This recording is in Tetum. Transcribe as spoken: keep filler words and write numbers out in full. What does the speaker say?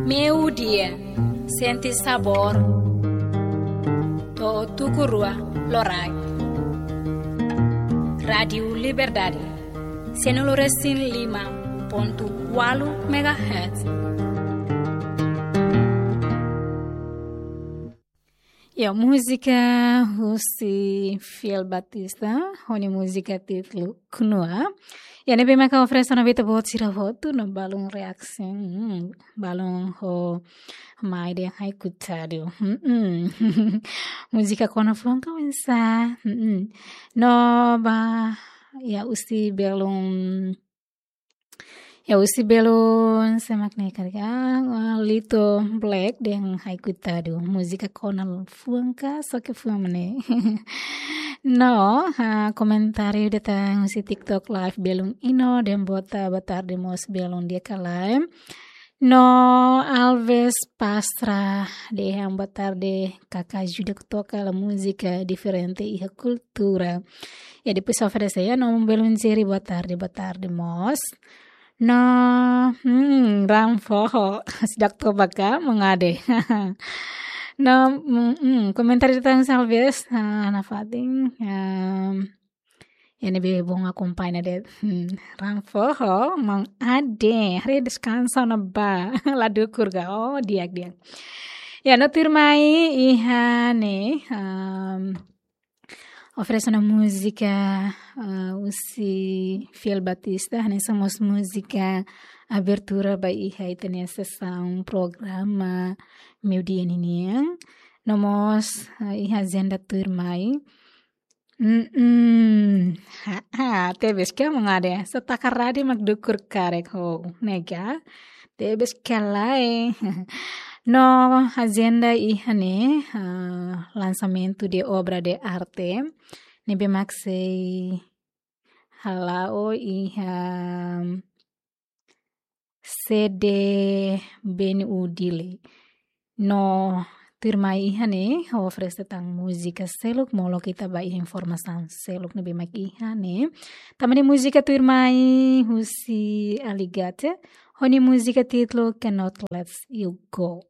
Meio-dia, sente sabor. To'o tuku rua loraik. Rádiu Liberdade, cento e cinco e cinco ponto oito megahertz. Ya, múzika husi Fiel Batista, ho nia múzika títulu Knua. Ya, ne'ebé maka oferese ona ba ita-boot sira hotu, no balun reaksi, hmm, balun ho mai dehan haiku tadu. Hmm. Múzika kona fuan ka oinsá. Hmm. No ba, ya, husi belun Ya, husi belun, sé mak ne'e karik, ah, Lito Black dehan haiku tadu. Múzika kona fuan ka, só ke fuan mak ne'e. No, ah, komentáriu datang husi TikTok Live belun Ino dehan boa ta-, boa tarde mós belun di'ak ka lae. No Alves Pastra dehan boa tarde, kaka ajuda toka la múzika diferente iha kultura. Ya, depois oferese ya, no belun Jerry, boa tarde, boa tarde mós. No, hmm, raan foho, seidauk toba ka, mangade. No, hmm, hmm, komentáriu datang Alves, ah, nafatin, ah, ya ne'ebé bom akompaña de'it. Hmm, raan foho, mangade, haree deskansa ona ba, la dukur ka, oh, di'ak, di'ak. Ya, no tuirmai iha ne'e, um, oferese ona múzika, ah, husi Fiel Batista, hanesan mós múzika abertura ba iha ita-nia sesaun programa meio-dia ninian. No mós, ah, iha ajenda tuirmai. Mm-mm. Ha, ha, tebes ka mangade. Só taka rádiu mak dukur karik ho, ne'e ka? Tebes ka lae. No ajenda iha ne'e, ah, lançamento de obra de arte. Ne'ebé mak sei hala'o iha sede B N U Dili. No tuirmai iha ne'e, ha'u oferese tan múzika seluk, molok ita ba iha informasaun seluk ne'ebé mak iha ne'e. Tanba ne'e múzika tuirmai husi Aligate, ho nia múzika títulu Cannot Let You Go.